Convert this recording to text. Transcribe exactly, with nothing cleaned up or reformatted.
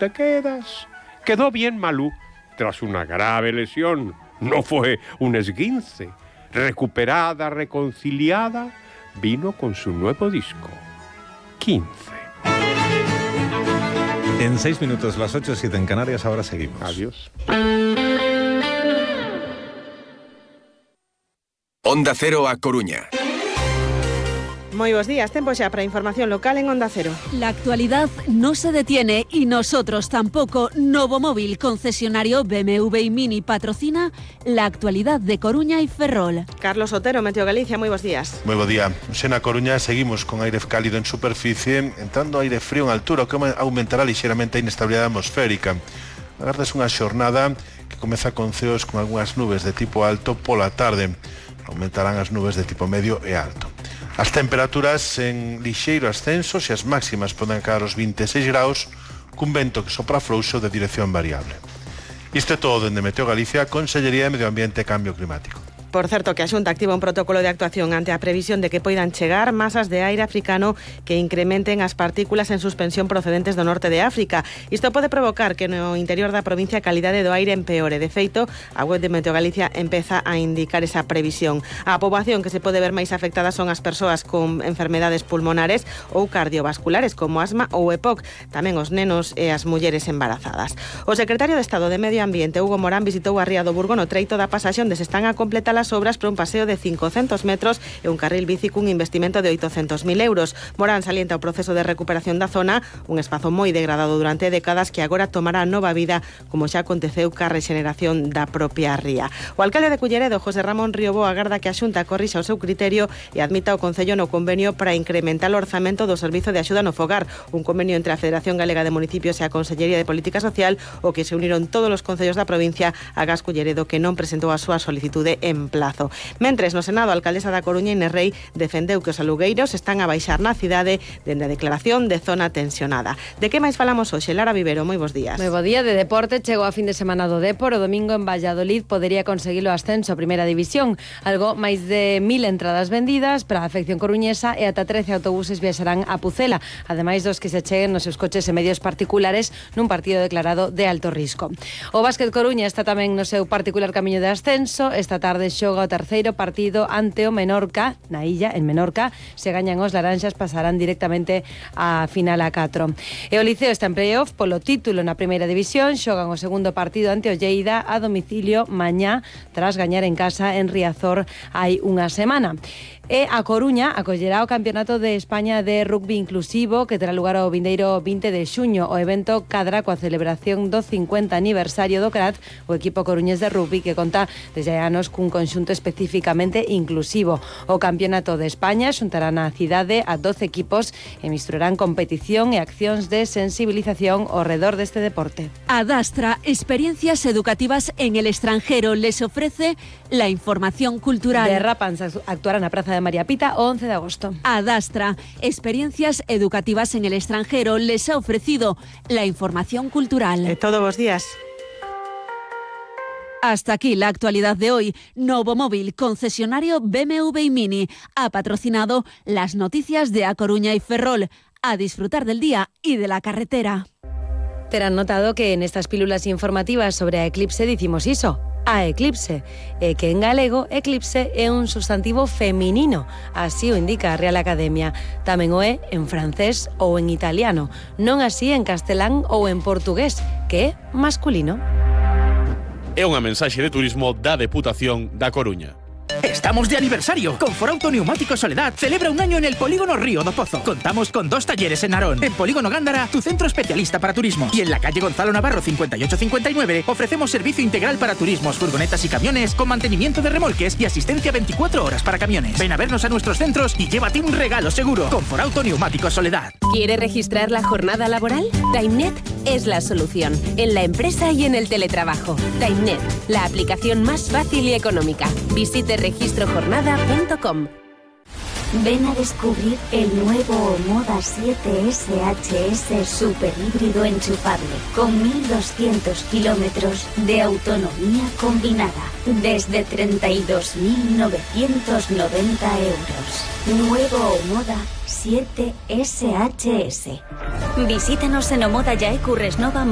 te quedas. Quedó bien Malú tras una grave lesión. No fue un esguince. Recuperada, reconciliada, vino con su nuevo disco, quince. En seis minutos, las ocho, siete en Canarias, ahora seguimos. Adiós. Onda Cero a Coruña. Moi bos días, tempo xa para información local en Onda Cero. La actualidad no se detiene y nosotros tampoco. Novomóvil, concesionario B M W y Mini, patrocina la actualidad de Coruña y Ferrol. Carlos Otero, Meteo Galicia, moi bos días. Moi bo día. Xe na Coruña seguimos con aire cálido en superficie, entrando aire frío en altura, o que aumentará lixeramente a inestabilidade atmosférica. Agardas unha xornada que comeza con ceos con algunhas nubes de tipo alto pola tarde. Aumentarán as nubes de tipo medio e alto. As temperaturas en lixeiro ascenso e as máximas poden caer aos vinte e seis graus cun vento que sopra frouxo de dirección variable. Isto é todo dende Meteo Galicia, Consellería de Medio Ambiente e Cambio Climático. Por certo, que a Xunta activa un protocolo de actuación ante a previsión de que poidan chegar masas de aire africano que incrementen as partículas en suspensión procedentes do norte de África. Isto pode provocar que no interior da provincia a calidade do aire empeore. De feito, a web de Meteo Galicia empeza a indicar esa previsión. A poboación que se pode ver máis afectada son as persoas con enfermedades pulmonares ou cardiovasculares, como asma ou E P O C, tamén os nenos e as mulleres embarazadas. O secretario de Estado de Medio Ambiente, Hugo Morán, visitou a ría do Burgo no treito da pasaxe onde se están a completar as obras para un paseo de cincocentos metros e un carril bici cun investimento de oitocentos mil euros. Morán salienta o proceso de recuperación da zona, un espazo moi degradado durante décadas que agora tomará nova vida, como xa aconteceu ca rexeneración da propia ría. O alcalde de Culleredo, José Ramón Riobo, agarda que a Xunta corrixa o seu criterio e admita o Concello no convenio para incrementar o orzamento do Servizo de Axuda no Fogar, un convenio entre a Federación Galega de Municipios e a Consellería de Política Social, o que se uniron todos os concellos da provincia a Gas Culleredo, que non presentou a súa solicitude en plazo. Mentres, no Senado, a alcaldesa da Coruña, Inés Rei, defendeu que os alugueiros están a baixar na cidade dende a declaración de zona tensionada. De que máis falamos hoxe? Lara Vivero, moi bos días. Moi bo día. De deporte, chegou a fin de semana do Depor. O domingo en Valladolid podería conseguir o ascenso a Primeira División. Algo máis de mil entradas vendidas para a afección coruñesa e ata trece autobuses viaxarán a Pucela, ademais dos que se cheguen nos seus coches e medios particulares nun partido declarado de alto risco. O Básquet Coruña está tamén no seu particular camiño de ascenso. Esta tarde xoga o terceiro partido ante o Menorca, na illa, en Menorca. Se gañan os laranxas, pasarán directamente á final a catro. E o Liceo está en playoff polo título na Primeira División. Xogan o segundo partido ante o Lleida a domicilio mañá, tras gañar en casa en Riazor hai unha semana. E a Coruña acollerá o Campeonato de España de Rugby Inclusivo, que terá lugar o vindeiro vinte de xuño. O evento cadra coa celebración do cincuenta aniversario do C R A T, o equipo coruñés de rugby que conta desde anos cun conxunto especificamente inclusivo. O Campeonato de España xuntará na cidade a doce equipos e misturarán competición e accións de sensibilización ao redor deste deporte. Adastra, experiencias educativas en el extranjero, les ofrece la información cultural. Derrapans actuará na Praza de María Pita o once de agosto. Adastra, experiencias educativas en el extranjero, les ha ofrecido la información cultural. De todos los días. Hasta aquí la actualidad de hoy. Novomóvil, concesionario B M W y Mini, ha patrocinado las noticias de A Coruña y Ferrol. A disfrutar del día y de la carretera. Terán notado que en estas pílulas informativas sobre a eclipse dicimos iso, a eclipse, e que en galego eclipse é un sustantivo feminino, así o indica a Real Academia. Tamén o é en francés ou en italiano, non así en castelán ou en portugués, que é masculino. É unha mensaxe de turismo da Deputación da Coruña. Estamos de aniversario. Conforauto Neumático Soledad celebra un año en el Polígono Río do Pozo. Contamos con dos talleres en Narón. En Polígono Gándara, tu centro especialista para turismos. Y en la calle Gonzalo Navarro cincuenta y ocho cincuenta y nueve ofrecemos servicio integral para turismos, furgonetas y camiones con mantenimiento de remolques y asistencia veinticuatro horas para camiones. Ven a vernos a nuestros centros y llévate un regalo seguro. Conforauto Neumático Soledad. ¿Quiere registrar la jornada laboral? TimeNet es la solución. En la empresa y en el teletrabajo. TimeNet, la aplicación más fácil y económica. Visite registro jornada punto com. Ven a descubrir el nuevo Omoda siete S H S super híbrido enchufable con mil doscientos kilómetros de autonomía combinada desde treinta y dos mil novecientos noventa euros. Nuevo Omoda siete S H S. Visítanos en Omoda Yae Curresnova